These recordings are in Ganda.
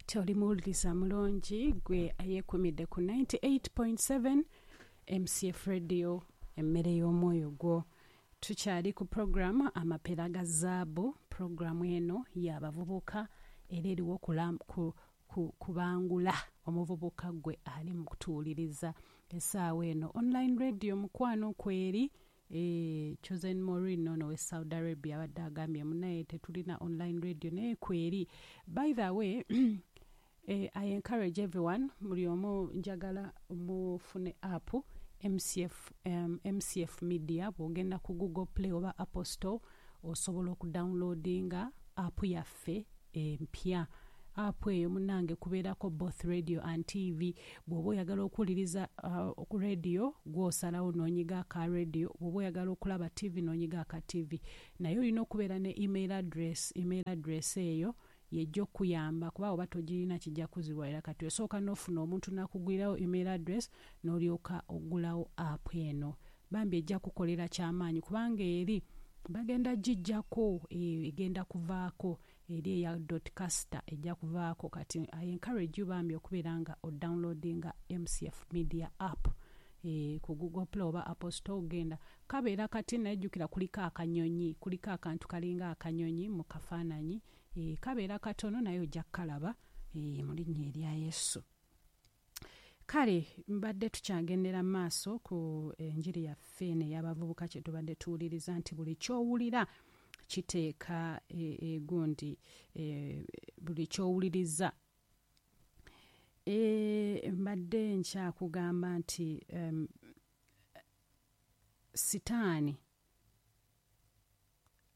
Nti oli muwuliriza mulungi gwe ayeekumidde ku 98.7 MCF Radio, emmere y'omwoyo gwo. Tukyali ku puroguramu Amapeera ga Zaabu. Puroguramu eno y'abavubuka era eriwo kubangula omuvubuka gwe ali mu kutuwuliriza essaawa eno. Online radio mukwano kweri. Chosen Maureen ono we Saudi Arabia abadde agambye munaye tetulina online radio, naye kweri. By the way, I encourage everyone, buli omu njagala mufune app MCF, MCF Media. Bw'ogenda ku Google Play oba Apple Store osobola okudownloadinga app yaffe empya. App eyo munnange kubeerako both radio and TV. Bw'oba oyagala okuwuliriza ku radio, gw'osalawo n'onyiga aka radio. Bw'oba oyagala okulaba TV, n'onyiga aka TV. Naye olina okubeera ne email address. Email address eyo yejja okukuyamba, kuba oba togirina kijja kuziwalira. Kati osooka n'ofuna omuntu n'akugulirawo email address n'olyoka oggulawo app eno. Bambi ejja kukolera kyamaanyi, kubanga eri bagenda giggyako, egenda kuvaako eri eya dot caster ejja kuvaako. Kati I encourage you bambi okubeera nga odownloadinga MCF Media app ku Google Play oba Apple Store. Ogenda kabeera kati, naye jjukira kuliko akanyonyi, kuliko akantu kalinga akanyonyi mu kafaananyi. Kabeera katono naye ojja kukalaba, mu linnya erya Yesu. Kale mbadde tukyagendera mu maaso ku enjiri yaffe eno ey'abavubuka, kye tubadde tuwuliriza nti buli ky'owulira kiteeka egundi, buli ky'owuliriza. Mbadde nkyakugamba nti sitaani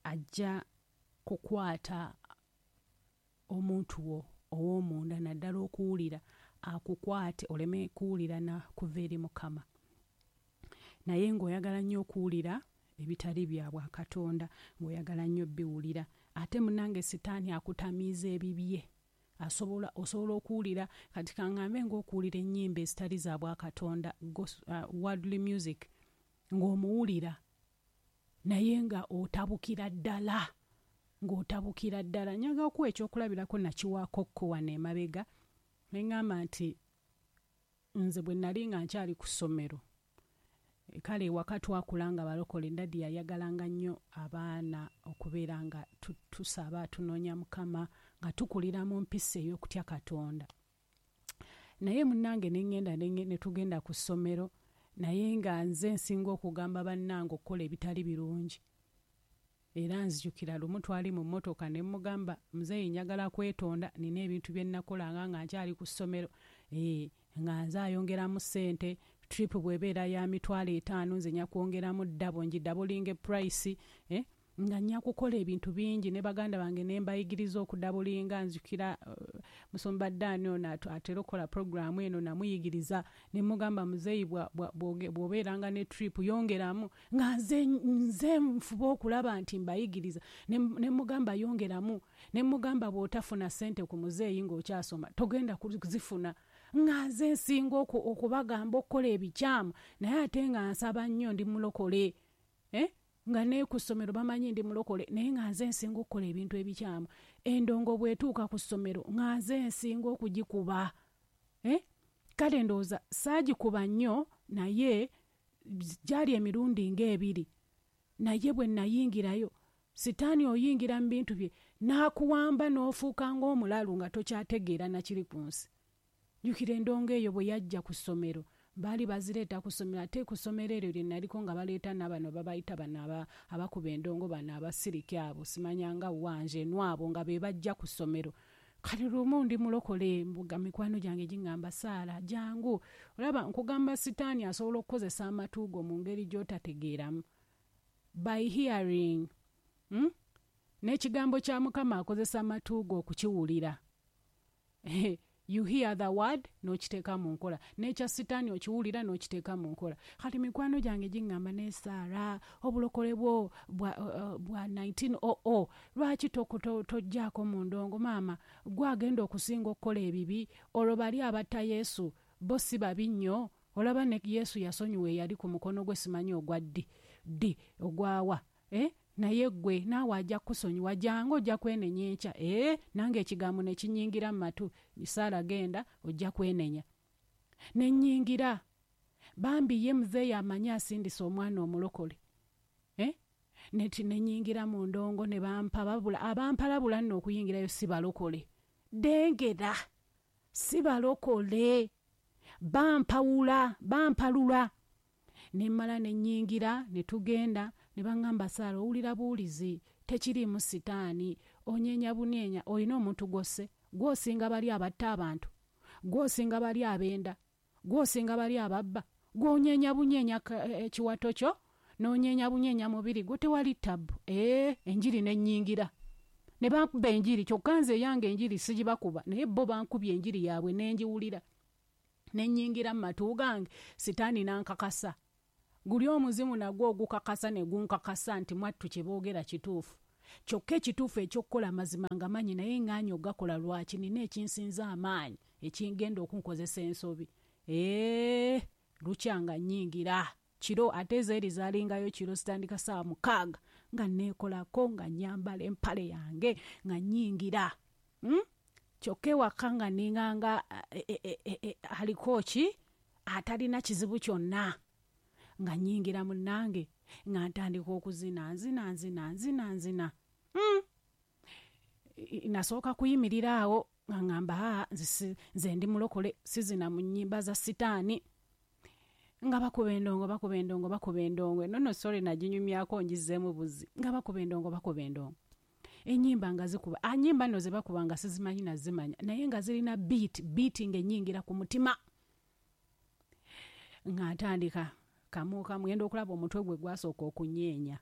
ajja kukwata omuntu wo ow'omunda, naddala okuwulira, akukwate oleme kuwulira na kuva eri Mukama, naye ng'oyagala nnyo okuwulira ebitali bya bwakatonda, ng'oyagala nnyo biwulira. Ate munnange sitaani akutamiiza ebibye. Asobola, osobola okuwulira, kati kaŋŋambe ng'okuwulira ennyimba ezitali za bwakatonda, worldly music, ng'omuwulira naye nga otabukira ddala, ng'otabukira ddala. Njagala okuwa ekyokulabirako, nakiwaako ko wano emabega ne ŋŋamba nti nze bwe nali nga nkyali ku ssomero, kale ewaka twakula nga balokole. Daddy yayagalanga nnyo abaana okubeera nga tusaba, tunoonya Mukama, nga tukulira mu mpisa ey'okutya Katonda. Naye munnange ne ŋŋenda ne tugenda ku ssomero, naye nga nze nsinga okugamba bannange okukola ebitali birungi. Era nzijukira lumu twali mu mmotoka ne mmugamba, "Muzeeyi, njagala kwetonda, nina ebintu bye nnakolanga nga nkyali ku ssomero, nga nze ayongeramu ssente. Trip bw'ebeera ya 50,000, nze nja kwongeramu double, ngidoublinge price, nga nja kukola ebintu bingi." Ne baganda bange ne mbayigiriza okudoublinga. Nzijukira musumba Ddaani ono atera okukola puroguraamu eno, namuyigiriza ne mugamba, "Muzeeyi, bw'obeeranga ne trip yongeramu." Nga nze nfuba okulaba nti mbayigiriza. Ne mugamba yongeramu, ne mugamba bw'otafuna ssente ku muzeeyi ng'okyasoma togenda kuzifuna. Nga nze nsinga okubagamba okukola ebikyamu, naye ate nga nsaba nnyo, ndi mulokole, nga ne ku ssomero bamanyi ndi mulokole, naye nga nze nsinga okukola ebintu ebikyamu. Endongo bw'etuuka ku ssomero nga nze nsinga okugikuba. Kale ndowooza saagikuba nnyo, naye gyali emirundi ng'ebiri. Naye bwe nayingirayo, sitaani oyingira mu bintu bye n'akuwamba n'ofuuka ng'omulalu nga tokyategeera nakiri ku nsi. Jjukira endongo eyo bwe yajja ku ssomero, baali bazireeta ku ssomero, ate ku ssomero eryo lye naliko nga baleeta n'abano babayita bano abakuba endongo, bano abasirike abo, simanyanga wanje nwabo, nga be bajja ku ssomero. Kati lumu ndi mulokole, mbuga mikwano gyange giŋŋamba, "Saala, jangu." Olaba nkugamba sitaani asobola okukozesa amatu go mu ngeri gy'otategeeramu, by hearing, N'ekigambo kya Mukama akozesa amatu go okukiwulira. You hear the word n'okiteeka mu nkola, n'ekya sitaani okiwulira n'okiteeka mu nkola. Kati mikwano gyange giŋŋamba, "Ne Saara, obulokole bwo bwa 1900, lwaki tojjaako mu ndongo? Maama, gwe agenda okusinga okukola ebibi. Olwo bali abatta Yesu bo si babi nnyo? Olaba ne Yesu yasonyiwa eyali ku mukono gwe, simanyi ogwa ddi ddi ogwawa, eh? Naye ggwe naawe ajja kukusonyiwa, jangu ojja kwenenya enkya. Nange ekigambo ne kinnyingira mu matu, Saara genda ojja kwenenya. Ne nnyingira. Bambi ye muzeeyi amanyi asindise omwana omulokole. Neti ne nnyingira mu ndongo ne bampababula, abampalabula nno okuyingirayo si balokole. Dengera, si balokole. Bampawula, bampalula. Ne mmala ne nnyingira ne tugenda ne baŋŋamba, Saara owulira buwulizi, tekiriimu sitaani, onyeenya bunyeenya, olina omuntu gw'osse, gw'osinga bali abatta abantu, gw'osinga bali abenda, gw'osinga bali ababba, gw'onyeenya bunyeenya ekiwato kyo, n'onyeenya bunyeenya mubiri gwo, tewali ttabu. Enjiri ne nnyingira. Ne bankuba enjiri, kyokka nze eyange enjiri sigibakuba, naye bo bankubye enjiri yaabwe ne ngiwulira. Ne nnyingira mu matu gange, sitaani n'ankakasa. Guli omuzimu nagwo ogukakasa ne gunkakasa nti mwattu kye boogera kituufu. Kyokka ekituufu eky'okukola amazima nga manyi, naye ŋŋaanye ogakola lwaki? Nina ekinsinza amaanyi ekingenda okunkozesa ensobi. Lukya nga nnyingira. Kiro ate ezeeri zaalingayo kiro, zitandika ssaawa 6 nga neekolako, nga nnyambala empale yange, nga nnyingira. Kyokka ewaka nga ninganga aliko ki atalina kizibu kyonna. Nga nnyingira munnange, nga ntandika okuzina, nzina, nzina, nzina, nzina. Nasooka kuyimirira awo nga ŋŋamba, nze ndi mulokole, sizina mu nnyimba za sitaani. Nga bakuba endongo, bakuba endongo, bakuba endongo. Eno nno sorry naginyumyako ngizzeemu buzzi. Nga bakuba endongo, bakuba endongo. Ennyimba nga zikuba. Nnyimba nno ze bakuba nga sizimanyi nazimanya, naye nga zirina beat, beat ng'ennyingira ku mutima. Nga ntandika kamu kamu, ngenda okulaba omutwe gwe gwasooka okunyeenya.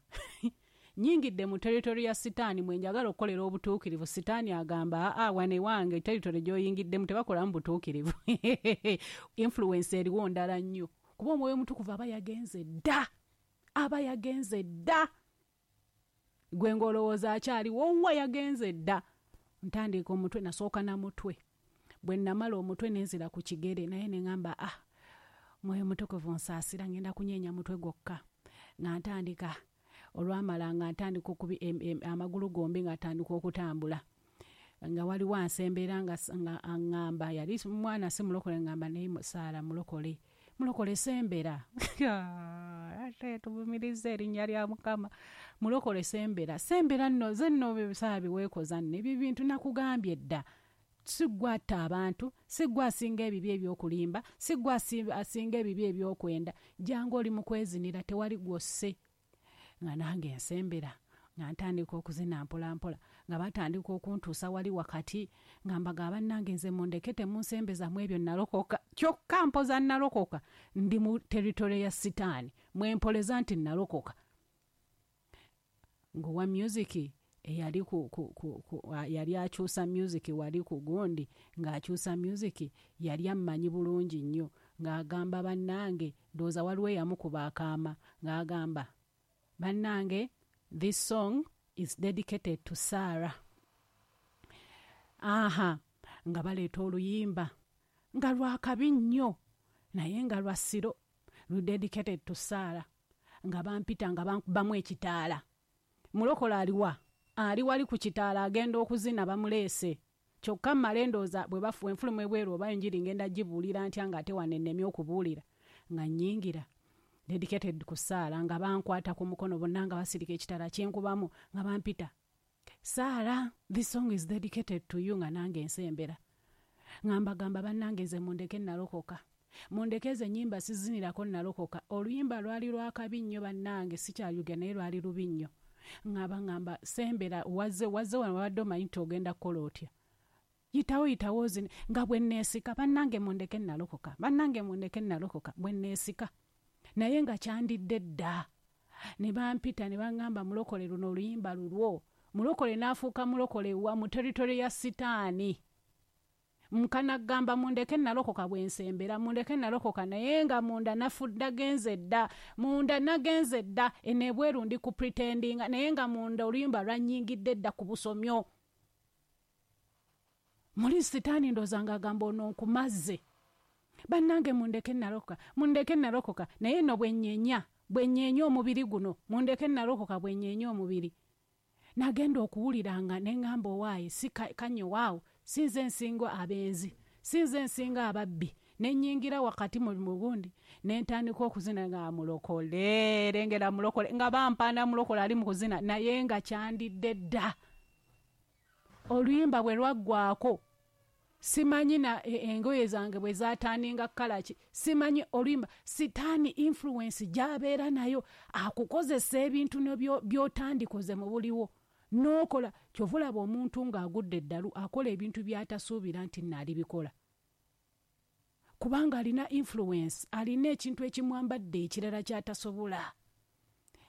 Nnyingidde mu territory ya sitaani mwe njagala okukolera obutuukirivu. Sitaani agamba, aa, wano ewange territory gy'oyingiddemu tebakolamu butuukirivu. Influence eriwo ndala nnyo. Kuba omwoyo omutukuvu aba yagenze dda. Aba yagenze dda. Gwe ng'olowooza akyaliwo, wa yagenze dda. Ntandika omutwe, nasooka na mutwe. Bwe namala omutwe ne nzira ku kigere, naye ne ŋŋamba, mwoyo mutukuvu nsaasira, ngenda kunyeenya mutwe gwokka. Nga ntandika, olwamala nga ntandika amagulu gombi nga ntandika okutambula. Nga waliwo ansembeera nga aŋŋamba, yali mwana si mulokole, ŋŋamba naye Saara mulokole. Mulokole sembera. Ate tuvumiriza erinnya lya Mukama. Mulokole sembera. Sembera nno, nze nno Saara biweekoza nno. Ebyo bintu nakugambye dda. Si ggwe atta abantu, si ggwe asinga ebibi eby'okulimba, si ggwe asinga ebibi eby'okwenda. Jangu oli mu kwezinira, tewali gw'osse. Nga nange nsembera, nga ntandika okuzina mpola mpola, nga batandika okuntuusa wali wakati, nga mbagamba bannange nze mundeke temunsembeza mu ebyo nalokoka. Kyokka mpoza nalokoka, ndi mu territory ya sitaani, mwe mpoleza nti nalokoka. Ng'owa music eyali ku, ku, ku, ku, yali akyusa music wali ku gundi, ng'akyusa music yali ammanyi bulungi nnyo, ng'agamba bannange, ndowooza waliwo eyamukuba akaama, ng'agamba bannange, this song is dedicated to Sarah. Aha, nga baleeta oluyimba nga lwakabi nnyo, naye nga lwa ssiro, lu dedicated to Sarah, nga bampita nga bankubamu ekitaala. Mulokole aliwa? Ali wali ku kitaala agenda okuzina bamuleese. Kyokka mmale ndowooza bwe bafuwa enfuluma ebweru oba enjiri ngenda gibuulira ntya ng'ate wano ennemye okubuulira. Nga nnyingira dedicated ku Sarah, nga bankwata ku mukono bonna nga basirika ekitaala kyenkubamu, nga bampita Sarah, this song is dedicated to you, nga nange nsembera. Nga mbagamba bannange nze mundeke nalokoka. Mundeke ezo ennyimba sizinirako nalokoka. Oluyimba lwali lwakabi nnyo bannange, sikyaluga naye lwali lubi nnyo. Nga baŋŋamba sembera, wazze wano wabadde omanyi nti ogenda kukola otya. Yitawo, yitawo ozine. Nga bwe neesika, bannange mundeke nalokoka, bannange mundeke nalokoka, bwe neesika. Naye nga kyandidde dda. Ne bampita ne baŋŋamba mulokole luno oluyimba lulwo. Mulokole n'afuuka mulokole wa mu territory ya sitaani. Nkanagamba mundeke nalokoka bwe nsembera, mundeke nalokoka, naye nga munda nagenze dda, munda nagenze dda, eno ebweru ndi ku pretendinga, naye nga munda oluyimba lwannyingidde dda ku busomyo. Muli sitaani ndowooza ng'agamba ono nkumaze. Bannange mundeke nalokoka, mundeke nalokoka, naye nno bwe nnyenya, Bwe nnyeenya omubiri guno, mundeke nalokoka bwe nnyeenya omubiri. Nagenda okuwulira nga ne ŋŋamba owaaye si kannyo waawo, si nze nsinga abenzi, si nze nsinga ababbi. Ne nnyingira wakati mu gundi ne ntandika okuzina nga mulokole, lengera mulokole, nga bampaana mulokole ali mu kuzina, naye nga kyandidde dda. Oluyimba bwe lwaggwaako, simanyi na engoye zange bwe zaatandinga kukola ki, simanyi oluyimba. Sitaani influence gy'abeera nayo akukozesa ebintu by'otandikoze mu buliwo n'okola. Kyova olaba omuntu ng'agudde eddalu akola ebintu by'atasuubira nti naalibikola, kubanga alina influence, alina ekintu ekimwambadde ekirala ky'atasobola.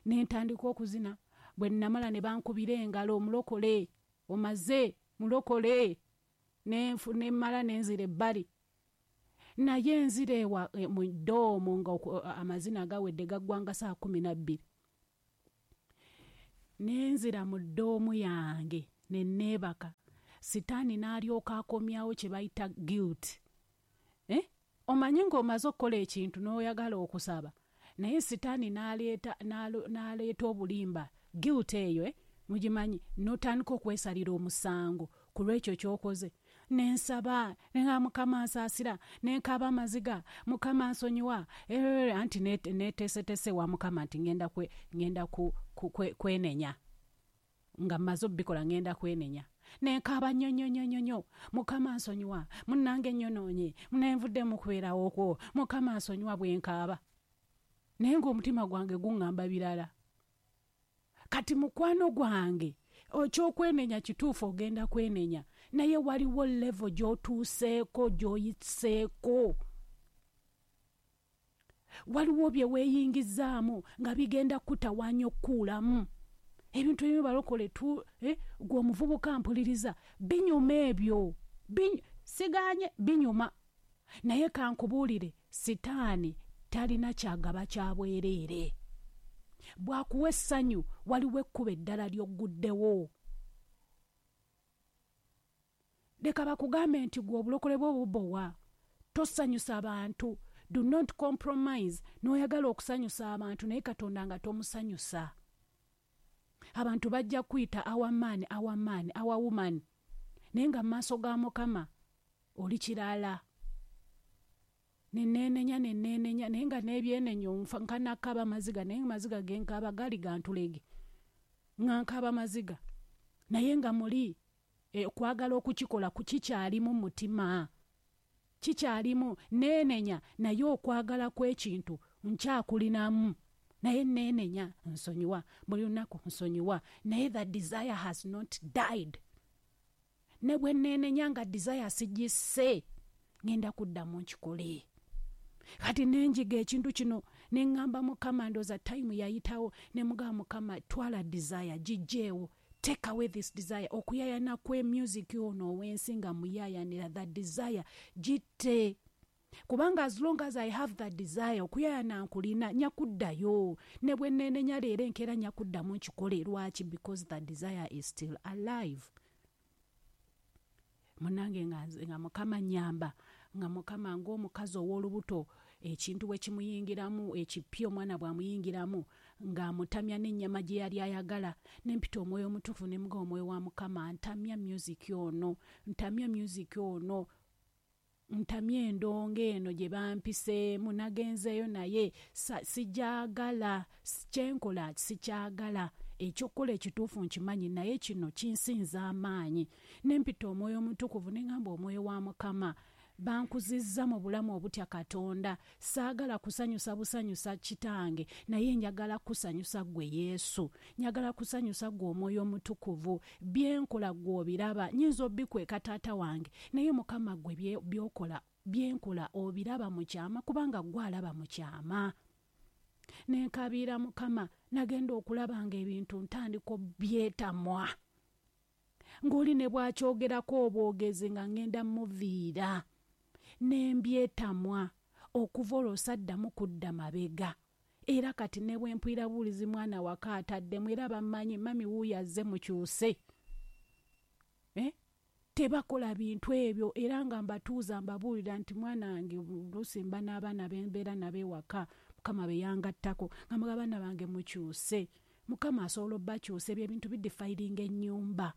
Ne ntandika okuzina. Bwe namala ne bankubira engalo, omulokole omaze, mulokole. Ne mmala ne nzira ebbali, naye nzira ewa mu dorm nga amazina gawedde, gaggwanga saa 12. Ne nzira mu dorm yange ne neebaka. Sitaani n'alyoka akomyawo kye bayita guilt. Eh? Omanyi ng'omaze okukola ekintu n'oyagala okusaba, naye sitaani n'aleeta obulimba, guilt eyo, mugimanyi, n'otandika okwesalira omusango ku lw'ekyo ky'okoze. Ne nsaba ne Mukama nsaasira, ne nkaaba amaziga, Mukama nsonyiwa. Anti neeteeseteese wa Mukama nti ngenda kwenenya nga mmaze obbikola, ngenda kwenenya. Ne nkaaba nnyo nnyo nnyo nnyo nnyo, Mukama nsonyiwa, munnange nnyonoonye, nenvudde mu kubeerawo kwo, Mukama nsonyiwa. Bwe nkaaba naye ng'omutima gwange guŋŋamba birala. Kati mukwano gwange, ekyokwenenya kituufu, ogenda kwenenya, naye waliwo level gy'otuuseeko, gy'oyiseeko, waliwo bye weeyingizaamu nga bigenda kutawaanya okukuulamu ebintu ebimu. Balokole tu, gwe omuvubuka mpuliriza, binyuma ebyo, siganye binyuma, naye kankubuulire, sitaani talina kyagaba kya bwereere. Bw'akuwa essanyu, waliwo ekkubo eddala ly'ogguddewo. Leka bakugambe nti gwe obulokole bwo bubowa, tosanyusa bantu. Do not compromise n'oyagala okusanyusa abantu naye Katonda nga tomusanyusa. Abantu bajja kuyita our man, our man, our woman, naye nga mu maaso ga Mukama oli kirala. Neneenenya, neneenenya, naye nga n'ebyenenyo nkanakaaba maziga, naye maziga genkaaba gali gantulege, nga nkaaba maziga, naye nga muli okwagala okukikola kikyalimu, mutima kikyalimu. Neenenya, naye okwagala kw'ekintu nkyakulinamu, naye neenenya, nsonyiwa buli lunaku, nsonyiwa, naye the desire has not died. Ne bwe neenenya nga desire sigisse, ngenda kuddamu nkikole. Kati nenjiga ekintu kino, ne ŋŋamba Mukama, ndooza time yayitawo, ne mugamba, Mukama, twala desire, gijjeewo, take away this desire. Okuyayana kwe music ono ow'ensi nga muyayanira, that desire gitte, kubanga as long as I have that desire, okuyayana nkulina, nyakuddayo. Ne bwe neenenya leero, enkeera nyakuddamu nkikole. Lwaki? Because the desire is still alive. Munange, nga Mukama nyamba, nga Mukama ng'omukazi ow'olubuto, ekintu bwe kimuyingiramu ekipya, omwana bw'amuyingiramu ng'amutamya n'ennyama gye yali ayagala. Nempita Omwoyo Omutuufu, ne muga, Omwoyo wa Mukama, ntamya music ono, ntamya music ono, ntamya endongo eno gye bampiseemu, nagenzeeyo naye sijagala, kyenkola sikyagala. Ekyokukola ekituufu nkimanyi, naye kino kinsinza amaanyi. Nempita Omwoyo Omutukuvu, ne ŋŋamba, Omwoyo wa Mukama, bankuzizza mu bulamu obutya Katonda, saagala kusanyusa busanyusa kitange, naye njagala kusanyusa ggwe Yesu, njagala kusanyusa ggwe Omwoyo Omutukuvu. Byenkola ggwe obiraba, nyinza obikweka taata wange, naye Mukama ggwe byokola, byenkola obiraba mu kyama, kubanga ggwe alaba mu kyama. Nenkabiira Mukama. Nagenda okulaba nga ebintu ntandika obyetamwa, ng'oli ne bwakyogerako obwogezi nga ŋŋenda muviira, nembyetamwa. Okuva olwo saddamu kudda mabega, era kati ne bwe mpulira buwulizi mwana waka ataddemu, era bammanyi, mummy wuuyo azze, mukyuse, eh? Tebakola bintu ebyo. Era nga mbatuuza, mbabuulira nti mwana wange, oluusi mba n'abaana bembeera nabo ewaka. Mukama be yangattako nga mugamba abaana bange mukyuse. Mukama asobola obbakyusa, ebyo ebintu bidefiringa ennyumba.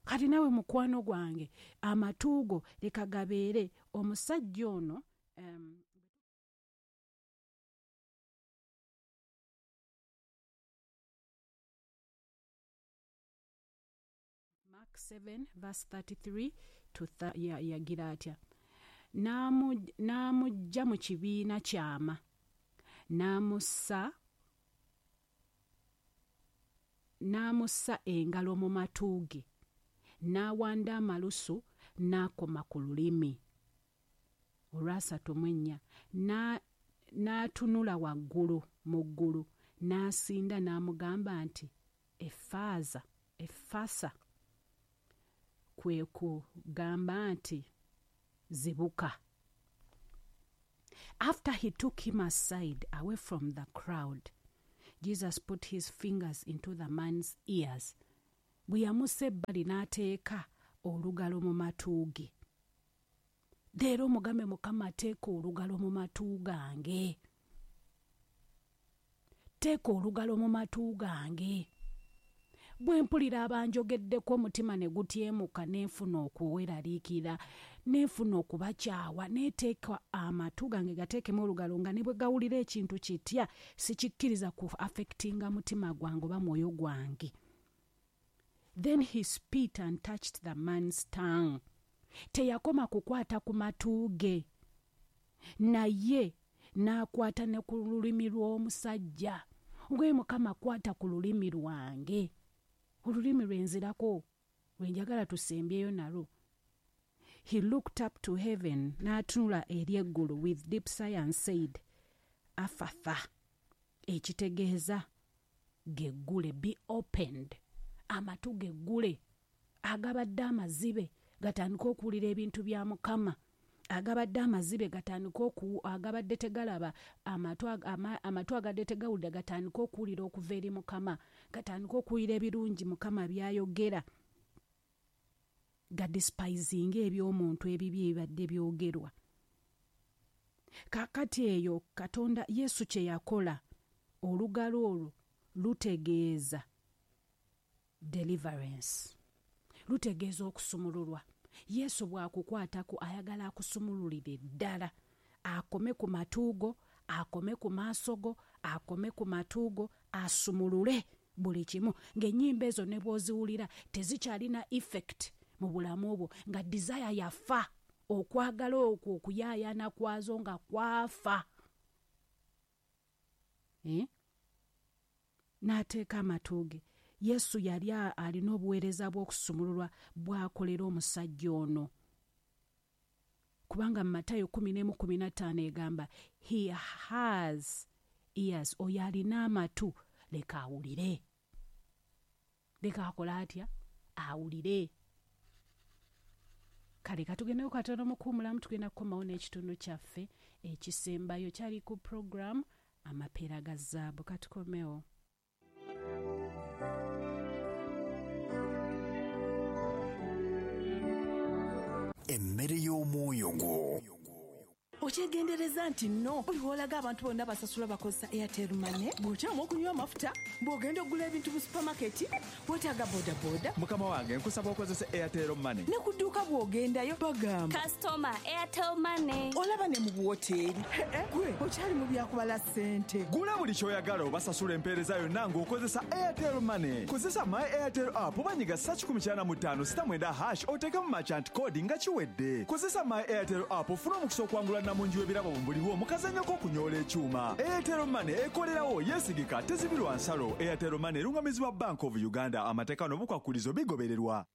Kati naawe mukwano gwange, amatu go leka gabeere omusajja ono. Mark 7 verse 33 to yagira atya? N'amuggya mu kibiina kyama, n'amussa engalo mu matu ge, n'awanda amalusu n'akoma ku lulimi. Olwasatu mu ennya, n'atunula waggulu mu ggulu, n'asinda n'amugamba nti, "Efaaza, efasa," kwe kugamba nti zibuka. After he took him aside, away from the crowd, Jesus put his fingers into the man's ears. Bwe yamussa ebbali n'ateeka olugalo mu matu ge. Leero omugambe, "Mukama, teeka olugalo mu matu gange, teeka olugalo mu matu gange. Bwe mpulira abanjogeddeko, omutima ne gutyemuka, nenfuna okuweraliikirira, nenfuna okubakyawa, neteeka amatu gange, gateekemu olugalo, nga ne bwe gawulira ekintu kitya, sikikkiriza ku affectinga mutima gwange oba mwoyo gwange." Then he spit and touched the man's tongue. Teyakoma kukwata ku matu ge, naye n'akwata ne ku lulimi lw'omusajja. Ngwe, "Mukama, kwata ku lulimi lwange." Olulimi lwenzirako lwenjagala tusembyeyo nalwo. He looked up to heaven, n'atunula eri eggulu, with deep sigh and said, "Afatha," ekitegeeza geggule, be opened. Amatu geggule agabadde amazibe gatandike okuwulira ebintu bya Mukama, agabadde amazibe gatandike, agabadde tegalaba, amatu agadde tegawulira gatandike okuwulira okuva eri Mukama, gatandike okuwulira ebirungi Mukama byayogera, gadespisinga eby'omuntu ebibi ebibadde byogerwa. Kaakati eyo Katonda Yesu kye yakola, olugalo olwo lutegeeza deliverance, lutegeeza okusumululwa. Yesu bw'akukwatako, ayagala akusumululire ddala, akome ku matu go, akome ku maaso go, akome ku matu go, asumulule buli kimu, ng'ennyimba ezo ne bw'oziwulira tezikyalina effect mu bulamu bwo, nga desire yafa, okwagala okwo okuyaayaana kwazo nga kwafa, eh? N'ateeka amatu ge. Yesu yali alina obuweereza bw'okusumululwa bw'akolera omusajja ono, kubanga mu Matayo 11:15 egamba, "He has ears," oyo alina amatu leka awulire. Leka akola atya? Awulire. Kale katugendeyo katono mukuwumulamu, tugenda kukomawo n'ekitundu kyaffe ekisembayo kyali ku program Amapeera ga Zaabu. Katukomewo. Emmere y'omwoyo gwo. Okyegendereza nti nno buli lw'olaga abantu bonna basasula bakozesa Airtel Money. Bw'okyama okunywa amafuta, bw'ogenda okugula ebintu mu supamaketi, weetaaga bodaboda. Mukama wange, nkusaba okozese Airtel Money. Ne ku dduuka bw'ogendayo bagamba, Kasitoma, Airtel Money. Olaba ne mu buwoteeri. Gwe okyali mu byakubala ssente. Gula buli ky'oyagala obasasula empeereza yonna ng'okozesa Airtel Money. Kozesa My Airtel app oba nyiga *195 *9# oteekemu merchant code nga kiwedde. Kozesa My Airtel app ofune omukisa okuwangula namungi w'ebirabo buliwo mu kazannyo k'okunyoola ekyuma. Airtel Money ekolerawo, yeesigika, tezibirwa nsalo. Airtel Money erungamizibwa Bank of Uganda. Amateeka n'obukwakulizo bigobererwa.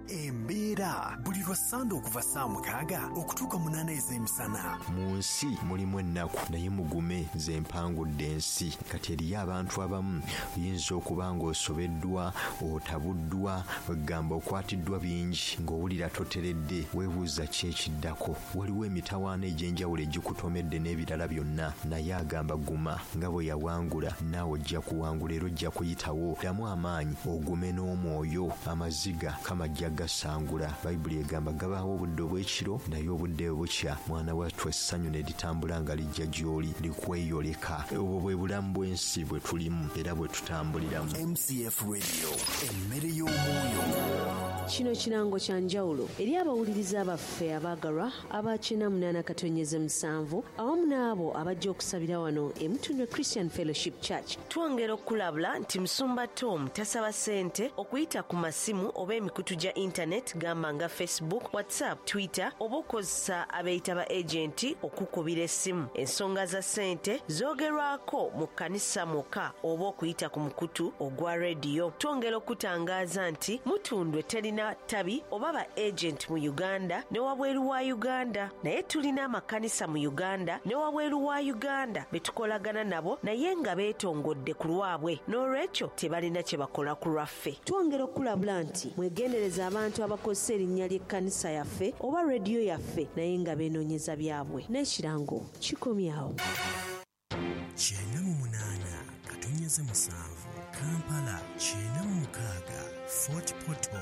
Embeera buli lwa Ssande okuva ssaawa 6 okutuuka 8 ez'emisana. Mu nsi mulimu ennaku, naye mugume, nze mpangudde ensi. Kati eriyo abantu abamu oyinza okuba ng'osobeddwa, otabuddwa, wegamba okwatiddwa bingi, ng'owulira toteredde, weebuuza ki ekiddako. Waliwo emitawaana egy'enjawulo egikutomedde n'ebirala byonna, naye agamba guma, nga bwe yawangula, naawe ojja kuwangula era ojja kuyitawo. Ddamu amaanyi, ogume n'omwoyo. Amaziga Mukama ajja. gasangula. Bayibuli egamba gabaawo obudde obw'ekiro, naye obudde bukya, mwana wattu essanyu ne litambula nga lijja gy'oli, likweyoleka. Obwo bwe bulamu bw'ensi bwe tulimu era bwe tutambuliramu. MCF Radio, emmere y'omwoyo. Kino kirango kya njawulo eri abawuliriza baffe abaagalwa aba 88.7 awamu n'abo abajja okusabira wano e Mutundwe Christian Fellowship Church. Twongera okukulabula nti Musumba Tom tasaba ssente okuyita ku masimu oba emikutu gya internet gamba nga Facebook, WhatsApp, Twitter oba okozesa abeeyita ba agenti okukubira essimu. Ensonga za ssente zoogerwako mu kkanisa mwokka oba okuyita ku mukutu ogwa rediyo. Twongera okutangaaza nti Mutundwe terina tabi oba ba agent mu Uganda ne wabweru wa Uganda, naye tulina amakanisa mu Uganda ne wabweru wa Uganda be tukolagana nabo naye nga beetongodde ku lwabwe, n'olwekyo tebalina kye bakola ku lwaffe. Twongera okulabula nti mwegendereza abantu abakozesa erinnya ly'ekkanisa yaffe oba rediyo yaffe naye nga beenoonyeza byabwe. N'ekirango kikomyawo. 98.7 Kampala, 96 Fort Portal.